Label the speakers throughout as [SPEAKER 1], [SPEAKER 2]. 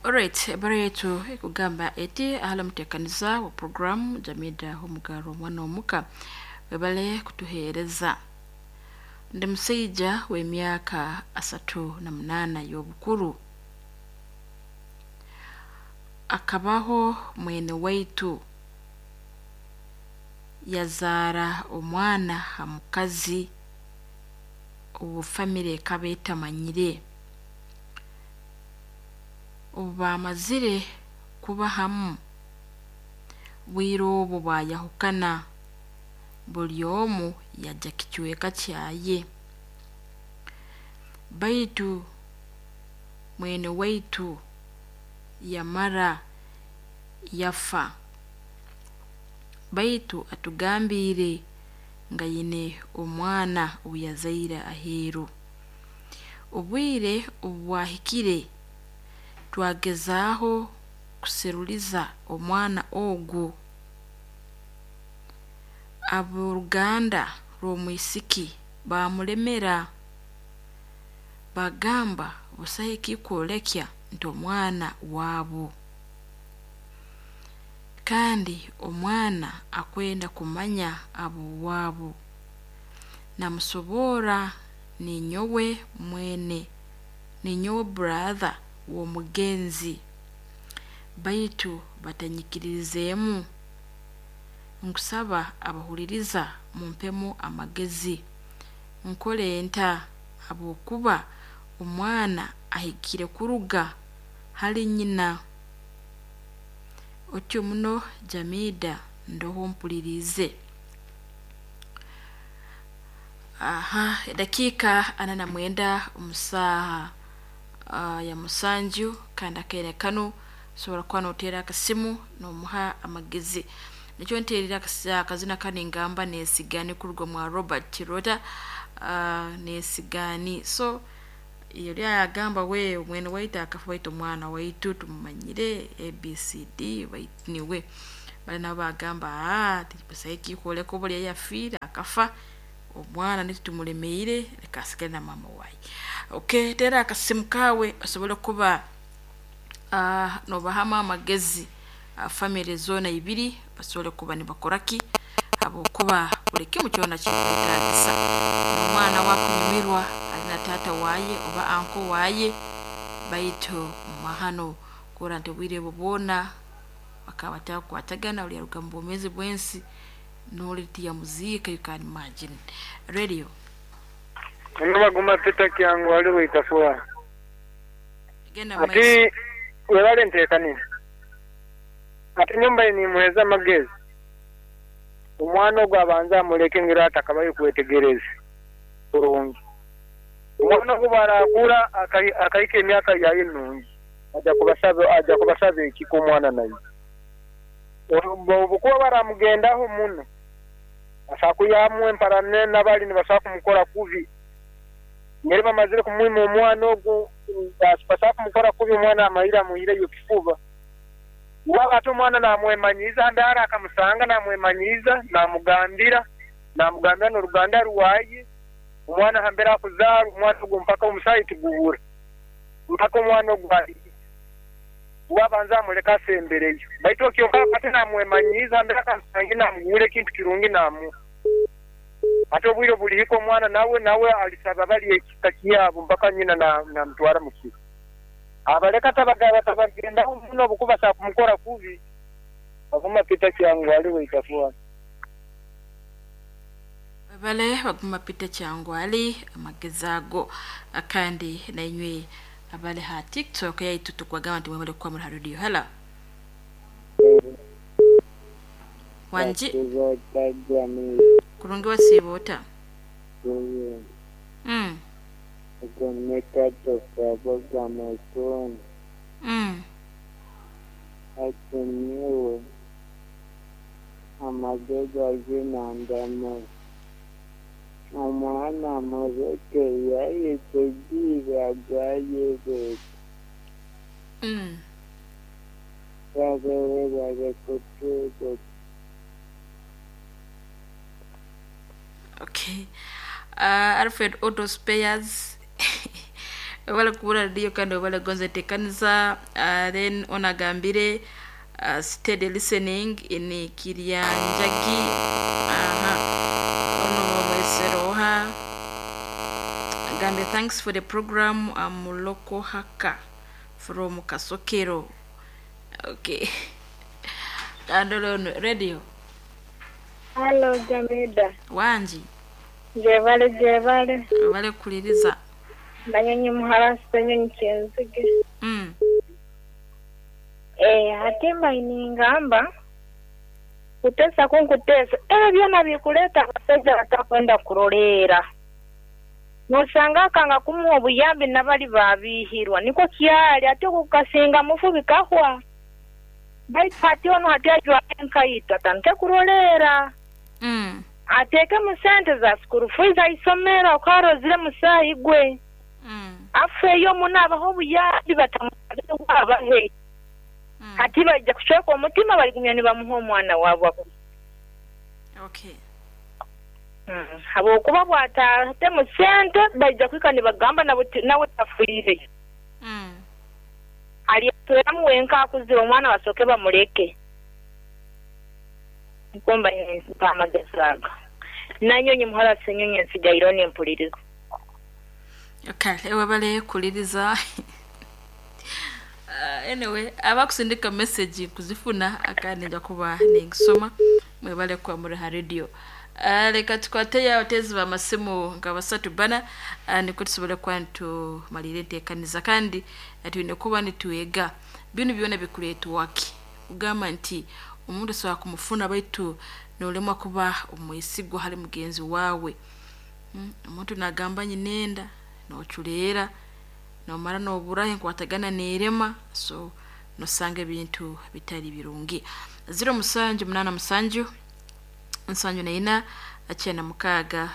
[SPEAKER 1] Alright, ebara yetu ekugamba eti ahala mutekaniza wa programu Jamida Omugaro omwana omuka webale kutuheereza. Ndi musaija w'emyaka 38 y'obukuru. Akabaho mwene waitu yazaara omwana ha mukazi obu famire ekaba etamanyire. Obu baamazire kuba hamu, bwire obu baayahukana, buli omu yajya kicweka kyaye. Baitu mwene waitu yamara yafa. Baitu atugambiire nga aine omwana ou yazaire aheeru. Obwire obu bwahikire, twagezaaho kuseruliza omwana ogu. Ab'oruganda rw'omwisiki baamulemera, baagamba busaho ekikwolekya nti omwana waabo. Kandi omwana akwenda kumanya ab'owaabo. Namusoborra ninyowe mwene, ninyowe brother w'omugenzi baitu batanyikirizeemu. Nkusaba abahuliriza mumpemu amagezi. Nkole nta habwokuba omwana ahikire kuruga hali nyina. Otyo muno Jamida ndoho mpuliriize. Aha, edakiika 49 omu saaha ya 7 kandi akaire kanu osobora kuba nooteera akasimu noomuha amagezi. Nikyo nteerire akazina kanu ningamba neesigani kuruga mwa Robert Rota neesigani. So oli agamba we mwene waitu akafa baitu omwana waitu tumumanyire ABCD baitu niwe. Bali nabo bagamba busaho ekikwoleka obu oli yafiire akafa omwana nitwe tumulemeire leka asigale na maama waye. Okay, teera akasimu kaawe osobole kuba noobahamu amagezi famire zoona ibiri basobole kuba nibakora ki habwokuba buli kimu kyona kikwetaagisa. N'omwana we akunyumirwa ali na taata waaye oba anko waaye baitu mahano kurora nti obwire obu bwona bakaba batakukwatagana oli yaruga mu bwomeezi bw'ensi n'oli tiyamuziika you can imagine. Radio.
[SPEAKER 2] Ono Baguma Peter Kyangu ali Waitafua.
[SPEAKER 1] Genda mu
[SPEAKER 2] Ati
[SPEAKER 1] maiso.
[SPEAKER 2] webale nteekaniza. Ati nyumba ye nimuheeza amagezi. Omwana ogwo abanze amuleke ngira atakabayo kwetegereza kurungi. Omwana ogwo bwarakura akahika emyaka yaye nungi aja kubasaba ekika omwana naye. Obukuba baramugendaho muno asobola kwihamu empalana n'abali nibasobola kumukora kubi. Ngeri bamazire kumwima omwana ogwo basobola kumukora kubi omwana amaire amuihireyo kifuba. Waba ate omwana namwemanyiiza hambere akamusanga namwemanyiiza namugambira n'oruganda rwaye omwana hambere akuzaarwa omwana ogwo mpaka omusaayi tiguhura mpaka omwana ogwo wabanza amuleka asembereyo baitu okyoka ate namwemanyiiza hambere akamusanga namuguura ekintu kirungi namuha. Ate obwire bulihika omwana nawe alisaba bali ekika kyabo mpaka nyina namutwara mu kika. Abaleka tabagendaho muno obukuba basobola kumukora kubi. Baguma Peter Kyangu ali Waitafua.
[SPEAKER 1] Webale Baguma Peter Kyangu ali amagezi ago kandi nainywe abali ha TikTok yaitu tukwagamba nti mwebale kuba muri ha radio. Hala. Wanji kurungi wasiiba ota?
[SPEAKER 3] Atumiwe amagezi aginandamu omwana muleke yayetegiire agayebeta babere barekutuuka.
[SPEAKER 1] Okay. Alfred Auto Spares. Webale kubura radio kandi webale gonza enteekaniza. Then onagambire steady listening in Kiryanjagi. Aha. Ono bamweseroha. Agambye thanks for the program. I'm local haka from Kasokero. Okay. Kandolo ono radio.
[SPEAKER 4] Halo Jamida,
[SPEAKER 1] Wangi.
[SPEAKER 4] jebale jebale,
[SPEAKER 1] Webale kuliriza.
[SPEAKER 4] Nanyonyi muharasi Ssenyonyi Kyenzige. Hatimba iningamba kutesa kunkutesa ebyo byona bikuleta abasajja batakwenda kuroleera nosanga akanga kumuha obuyambi nabali babihirwa niko kyali ate okukasinga mufu bikahwa baitu hati ono hati ajwara enkaito atandike kuroleera ateekemu sente za school fees aisomero okarozire musaayi gwe afeeyo muno abaho obuyambi batamusabe abahe hati bajja kucweka omutima baligumya nibamuha omwana waabwe.
[SPEAKER 1] Okay.
[SPEAKER 4] Habwokuba bw'ataatemu sente baija kwika nibagamba nawe tafiire. Alyetweramu wenka akuzire omwana basooke bamuleke. Nkomba mpa amagezi ago. Nanyonyi muhara Ssenyonyi nsigaire nempuliriza.
[SPEAKER 1] Okay, webale kuliriza. Anyway, abakusindika message kuzifuna akanija kuba ningisoma mwebale kwa muri ha radio. Leka tukwate abatezi b'amasimu nga basatu bana niko tusobole kuba nitumalira enteekaniza kandi twine kuba nitwega binu byona bikuleetwa ki kugamba nti omuntu osobola kumufuna baitu nolemwa kuba omwesigwa hali mugenzi waawe. Omuntu nagamba nyinenda noculeera nomara noburaho enkwatagana nerema so nosanga ebintu bitari birungi. 07 87 74 96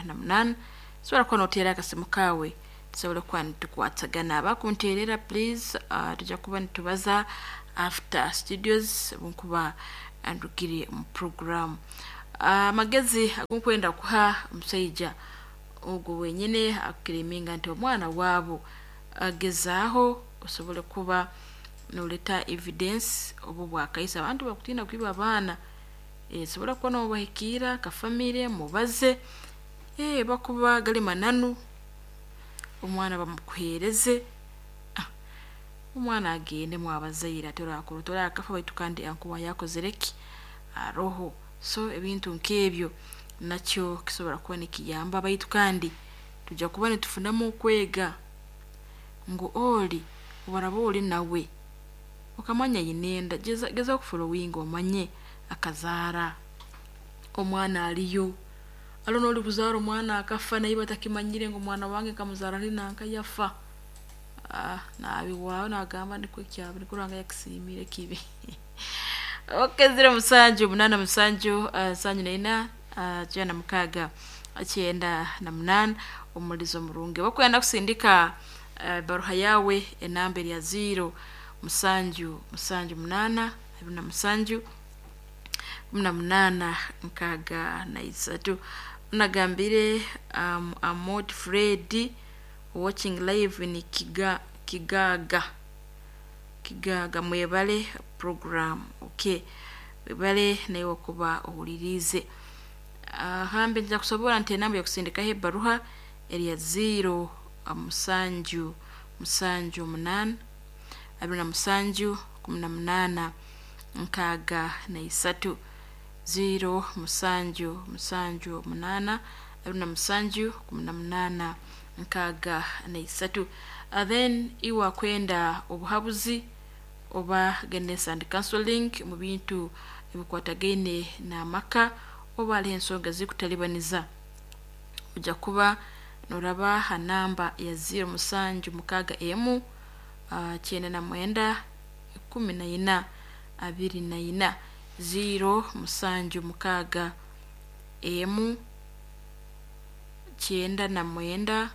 [SPEAKER 1] 98 sobola kuba noteera akasimu kaawe tusobole kuba nitukwatagana. Abakunteerera please, tujja kuba nitubaza after studios bunkuba ndugire mu program. Amagezi agunkwenda kuha omusaija ogwo wenyine akukireminga nti omwana waabo agezaaho osobole kuba noleta evidence obu bwakaisa abantu bakutiina kwiba abaana. Sobola kuba nobahikiira akafamire mubaze bakuba gali mananu omwana bamukuheereze omwana agende mwabazaire ate orakora torakafa baitu kandi ankuba yakozere ki aroho. So ebintu nk'ebyo nakyo kisobola kuba nikiyamba baitu kandi tujja kuba nitufunamu okwega ngu oli obaraba oli nawe okamanya yinenda geza okufolowinga omanye akazaara omwana aliyo alo noli kuzaara omwana akafa naye batakimanyire ngu omwana wange nkamuzaara ali nanka yafa. Nabiwaawo nagamba nikwo kyaba nikwo Ruhanga yakusiimire kibi. Okay, 07 87 74 96 98 omulizo murungi bakwenda kusindika baruha yawe enamba ya 0 7 7 8 27 18 63. Nagambire Amod Fred watching live in Kigaga Kigaga mwebale program. Okay, webale naye okuba owulirize. Hambe nja kusobola nti enamba yokusindikaho ebbaruha eri ya 0 7 7 8 27 18 63 0 7 7 8 27 18 63. Then iwa kwenda obuhabuzi oba guidance and counseling mu bintu ebikwatagaine n'amaka oba hariho ensonga zikutalibaniza ojja kuba noraba ha namba ya 0 7 6 99 14 24 0 7 6 99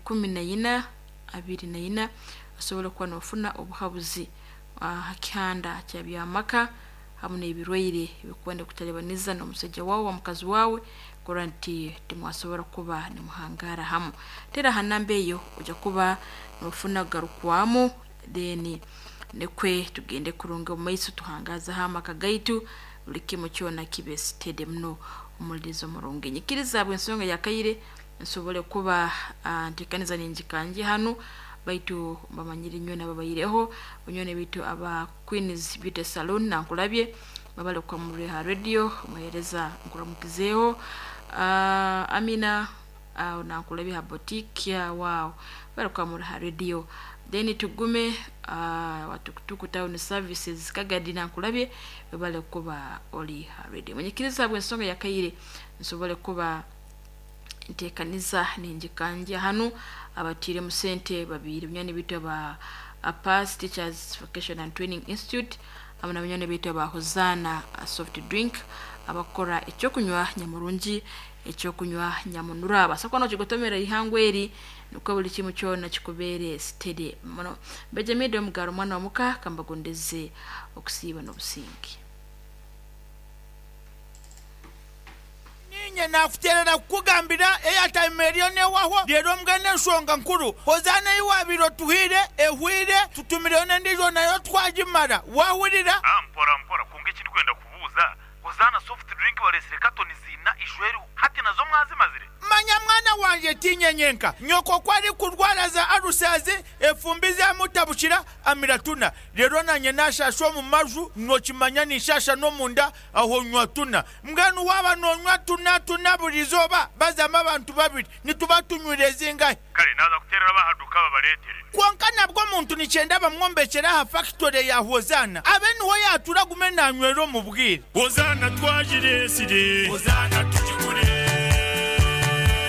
[SPEAKER 1] 14 24 osobola okuba nofuna obuhabuzi ha kihanda kya byamaka hamu n'ebirwaire ebikuba nikutalibaniza n'omusajja waawe oba mukazi waawe Kurora nti timwasobora kuba nimuhangara hamu. Tera ha namba eyo ojja kuba nofuna garukwamu, then nikwe tugende kurunga omu maiso tuhangazeho amaka gaitu, buli kimu kyona kibe steady muno. Omulirizo murungi, nyikiriza bw'ensonga yakaire nsobole kuba ntekaniza ninjikanje hanu, baitu bamanyire nyowe nababaireho banywani baitu aba Queens Beauty Salon nankulabye babale kwa ha radio muhereza nkuramukizeho. Amina nankulabye ha boutique ya wow bale kwa ha radio. Then tugume watukutuku town services Kagadi nankulabye babale kuba oli ha radio. Mwenyekiriza bw'ensonga yakaire nsobole kuba ntekaniza ninjikanja hanu abatire musente babiri bunywani bitu ba Apas Teachers Vocation and Training Institute amuna bunywani bitu ba Hozana soft drink abakora ekyokunywa nyamurungi, ekyokunywa nyamunura basakwa kigotomera ihangwe eri nuko buli kimu kyona kikubere steady muno. Benjamin Omugaro mwana wa muka kambagondeze okusiiba n'obusingi.
[SPEAKER 5] Ninye nakuterera kukugambira airtime eriyo newaho rero mbwene ensonga nkuru Hozana iwabiro tuhire ehwire tutumireyo n'endijo nayo twagimara wahurira.
[SPEAKER 6] Mpora mpora kunga ekindi kwenda kubuuza, Hozana soft drink balesire katoni zina ishweru hati nazo mwazimazire.
[SPEAKER 5] Manya mwana wanje tinyenyenka nyoko kwari kurwara za arusazi efumbi zamutabukira amiratuna rero nanye nashasha omu maju nokimanya nishasha n'omunda aho nywa tuna mbwenu waba nonywa tuna tuna buri izooba bazamu abantu babiri nituba tunywire zingahe.
[SPEAKER 6] Kale naza kuterera bahaduka babaletere.
[SPEAKER 5] Kwonka nabwo omuntu nikyenda bamwombekera aha factory ya Hozana abe niho yatura gume nanywera omu bwire.
[SPEAKER 7] Hozana twagiresire, Hozana tugigure.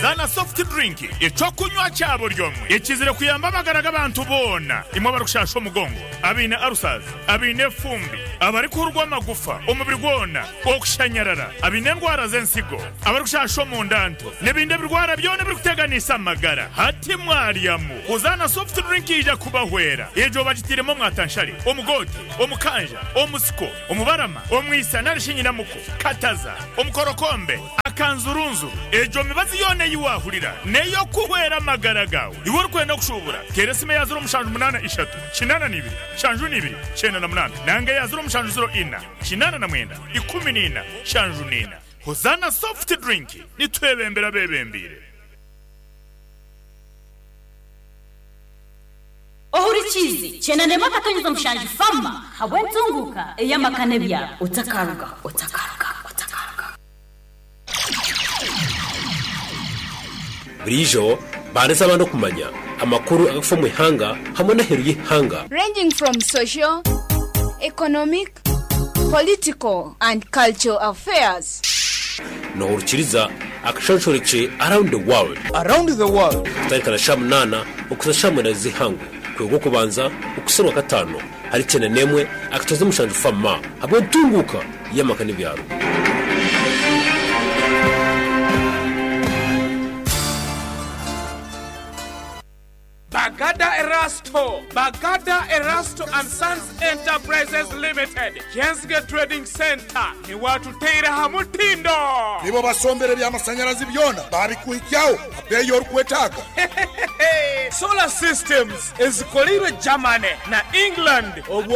[SPEAKER 7] Zana soft drink ekyokunywa kya buri omwe ekizire kuyamba amagara g'abantu boona, imwe abarikushasha omugongo, abaine arusazi, abaine efumbi, abarikuhurwa amagufa omubiri gwona, okushanyarara, abaine endwara z'ensigo, abarikushasha omundanto n'ebindi ebirwara byona ebirikuteganisa amagara. Hati mwaryamu Hozana soft drink ija kubahwera. Egyo bagitiremu omwatanshare, omugote, omukanja, omusiko, omubarama, omwisa narishi nyinamuko, kataza, omukorokombe, akanzurunzuru. Egyo mibazi yona eyiwahurira neyo kuhwera amagara gawe. Iwe orikwenda kushubura tera esimu ya 0783 82 72 98 nanga ya 0704 89 14 74. Hozana soft drink nitwebembera bebembire.
[SPEAKER 8] Ohurikizi chenanema katonyeza mushanju fama habwentunguka eyamakane bya utakaruga utakaruga utakaruga.
[SPEAKER 9] Burijo bareza abantu kumanya amakuru agafa mu ihanga hamwe n'aheru y'ihanga,
[SPEAKER 10] ranging from social, economic, political and cultural affairs.
[SPEAKER 9] Nohurikiriza akashonshoreke around the world,
[SPEAKER 5] around the world
[SPEAKER 9] kutarikana sha 8 okuza sha 8 z'ihangu kwego kubanza okuserwa 5 hari 91 akatoza mushanju fama habwe ntunguka y'amakane byaro.
[SPEAKER 11] Bagada Erasto, Bagada Erasto and Sons Enterprises Limited, Jensge Trading Center, ni watuteira hamutindo.
[SPEAKER 12] Nibo basombere by'amasanyarazi byona babikuhikyaho abeyo orikwetaaga.
[SPEAKER 11] Solar systems ezikolirwe Germany na England. Obwo